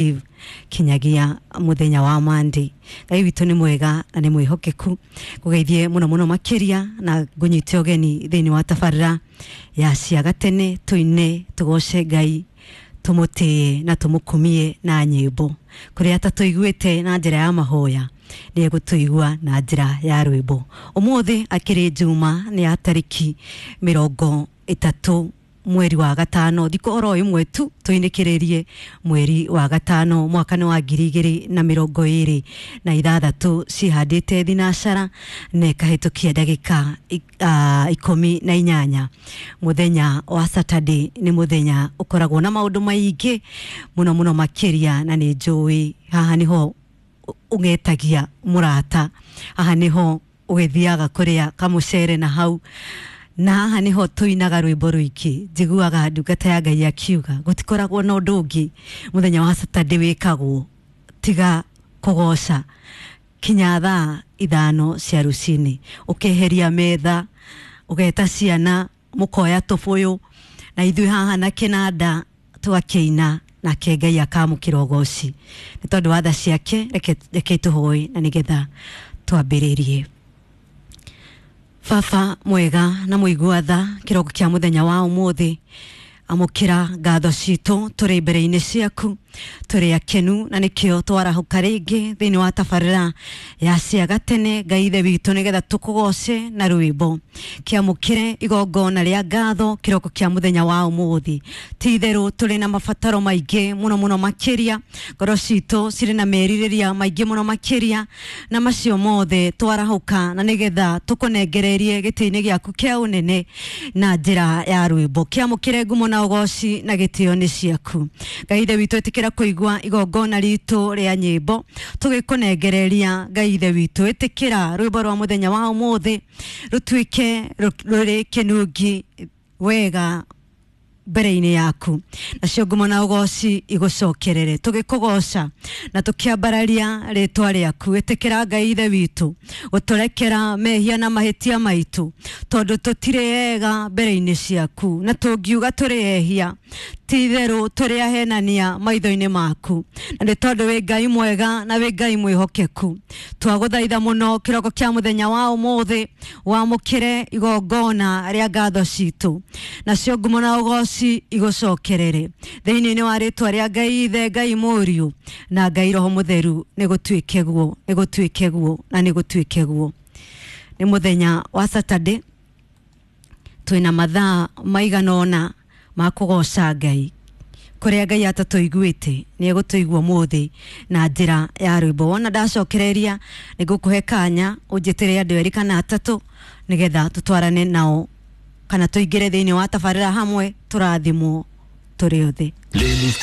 Eve kinyagia muthenya wa Monday. Ngai witũ nĩ mwega na nĩ mwĩhokeku. Ngũgeithie mũno mũno makĩria na ngũnyite ũgeni thĩinĩ wa tabarĩra ya cia gatene, tũine tũgoce Ngai, tũmũtĩe na tũmũkumie na nyĩmbo. Kũrĩa atatũiguĩte na njĩra ya mahoya, nĩ egũtũigua na njĩra ya rwĩmbo. Ũmũthĩ akĩrĩ Juma, nĩ ya tarĩki 30 mweri wa gatano, thikũ oro ĩmwe tu tũinĩkĩrĩrie mweri wa gatano, mwaka nĩ wa 2026, cihandĩte thinacara na ĩkahĩtũkia ndagĩka 18. Mũthenya wa Saturday nĩ mũthenya ũkoragwo na maũndũ maingĩ mũno mũno makĩria, na nĩ njũĩ haha nĩho ũgetagia mũrata, haha nĩho ũgĩthiaga kũrĩa kamũcere na hau, na haha niho tuinaga rwimbo rwingĩ. Njiguaga ndungata ya Ngai akiuga gũtikoragwo na ũndũ ũngĩ mũthenya wa Saturday wĩkagwo tiga kũgoca kinya thaa 5 cia rũcinĩ, ũkeheria metha, ũgeta ciana, mũkoya tũbũyũ na ithuĩ haha na kĩnanda tũgakĩina, nake Ngai akamũkĩra ũgoci nĩ tondũ wa tha ciake. Reke tũhoe na nĩgetha twambĩrĩrie. Baba mwega na mũigua tha, kĩroko kĩa mũthenya wa ũmũthĩ, amũkĩra ngatho citũ. Tũrĩ mbere-inĩ ciaku tũrĩ akenu, na nĩkĩo twarahũka rĩngĩ thĩinĩ wa tabarĩra ya cia gatene, Ngai Ithe witũ, nĩgetha tũkũgoce na rwĩmbo. Kĩamũkĩre igongona rĩa ngatho kĩroko kĩa mũthenya wa ũmũthĩ. Ti itherũ tũrĩ na mabataro maingĩ mũno mũno makĩria, ngoro citũ cirĩ na merirĩria maingĩ mũno makĩria, na macio mothe twarahũka na nĩgetha tũkũnengererie gĩtĩ-inĩ gĩaku kĩa ũnene na njĩra ya rwĩmbo. Kĩamũkĩre ngumo na ũgoci na gĩtĩo nĩ ciaku, Ngai Ithe witũ. Ĩtĩkĩra kũigua igongona ritũ rĩa nyĩmbo tũgĩkũnengereria. Ngai Ithe witũ, ĩtĩkĩra rwĩmbo rwa mũthenya wa ũmũthĩ rũtuĩke rũrĩ kĩnungi wega mbere-inĩ yaku, nacio ngumo na ũgoci igũcokerere tũgĩkũgoca na tũkĩambararia rĩtwa rĩaku. Ĩtĩkĩra, Ngai Ithe witũ, gũtũrekera mehia na mahĩtia maitũ, tondũ tũtirĩ ega mbere-inĩ ciaku, na tũngiuga tũrĩ ehia, ti itherũ tũrĩ ahenania maitho-inĩ maku, na nĩ tondũ wĩ Ngai mwega na wĩ Ngai mwĩhokeku, twagũthaitha mũno kĩroko kĩa mũthenya wa ũmũthĩ wamũkĩre igongona rĩa ngatho citũ, nacio ngumo na ũgoci igũcokerere thĩinĩ wa rĩtwa rĩa Ngai Ithe, Ngai Mũriũ na Ngai Roho Mũtheru. Nĩ gũtuĩke guo, nĩ gũtuĩke guo, na nĩ gũtuĩke guo. Nĩ mũthenya wa Saturday, twĩna mathaa maigana ũna ma kũgoca Ngai. Kũrĩa Ngai atatũiguĩte, nĩ egũtũigua ũmũthĩ na njĩra ya rwĩmbo. Wona ndacokereria, nĩ ngũkũhe kanya ũnjĩtĩre andũ erĩ kana atatũ nĩgetha tũtwarane nao kana tũingĩre thĩinĩ wa tabarĩra hamwe, tũrathimwo tũrĩ othe. Playlist.